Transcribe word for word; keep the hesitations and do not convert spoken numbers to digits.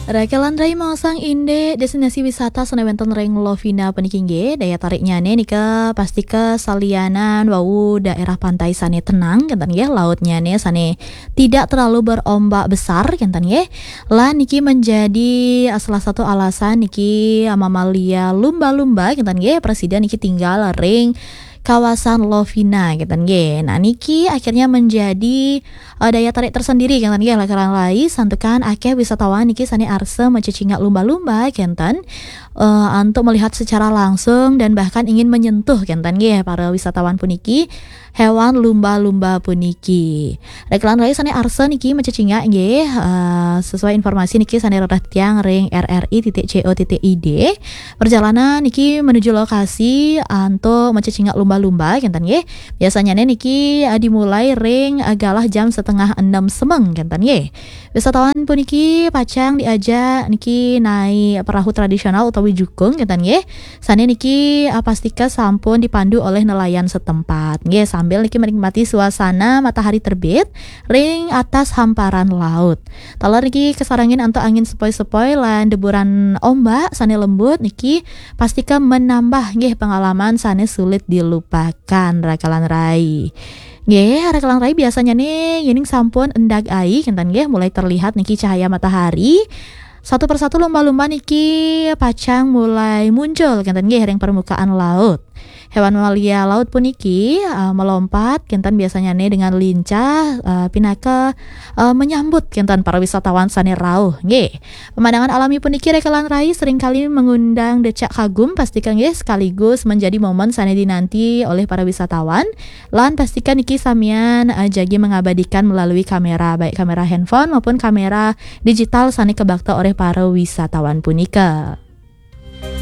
Rakelan rai maosang indik destinasi wisata sane wenten ring Lovina puniki nggih, daya tariknyane nika pastika salianan wau daerah pantai sane tenang, kenten nggih, lautnyane sane tidak terlalu berombak besar, kenten nggih. Lan niki menjadi, eh, salah satu alasan niki, eh, mamalia lumba-lumba, kenten nggih, prasida niki tinggal ring kawasan Lovina, kenten nggih. Nah, niki akhirnya menjadi, eh, daya tarik tersendiri, kenten nggih, rakelan rai, santukan akeh wisatawan niki sane arsa macecingak lumba-lumba, kenten, eh, untuk melihat secara langsung dan bahkan ingin menyentuh, kenten nggih, para wisatawan puniki, hewan lumba-lumba puniki. Rakelan rai sane arsa niki macecingak nggih, eh, sesuai informasi niki sane rereh tiang ring R R I titik C O titik I D. Perjalanan niki menuju lokasi, eh, untuk macecingak lumba-lumba, kenten nggih. Biasanya niki, eh, dimulai ring, eh, galah jam setengah enam semeng, kenten nggih. Wisatawan puniki pacang diajak niki naik perahu tradisional utawi jukung, kenten nggih. Sane niki, eh, pastika sampun dipandu oleh nelayan setempat. Nggih, sambil niki menikmati suasana matahari terbit ring atas hamparan laut. Taler niki kasarengin antuk angin sepoi-sepoi lan deburan ombak sane lembut niki pastika menambah nggih pengalaman sane sulit dilupakan, rakelan rai. Nggih, rakelan rai, biasanya ne yening sampun endag ai, kenten nggih, mulai terlihat niki cahaya matahari, satu persatu lumba-lumba niki pacang mulai muncul, kenten nggih, ring permukaan laut. Hewan mamalia laut puniki, eh, melompat, kenten, biasanya ne dengan lincah, eh, pinaka, eh, menyambut, kenten, para wisatawan sane rauh, nggih. Pemandangan alami puniki, rakelan rai, seringkali mengundang decak kagum, pastika nggih, sekaligus menjadi momen sane dinanti oleh para wisatawan. Lan pastika niki samian, eh, jagi mengabadikan melalui kamera, baik kamera handphone maupun kamera digital sane kabakta oleh para wisatawan punika.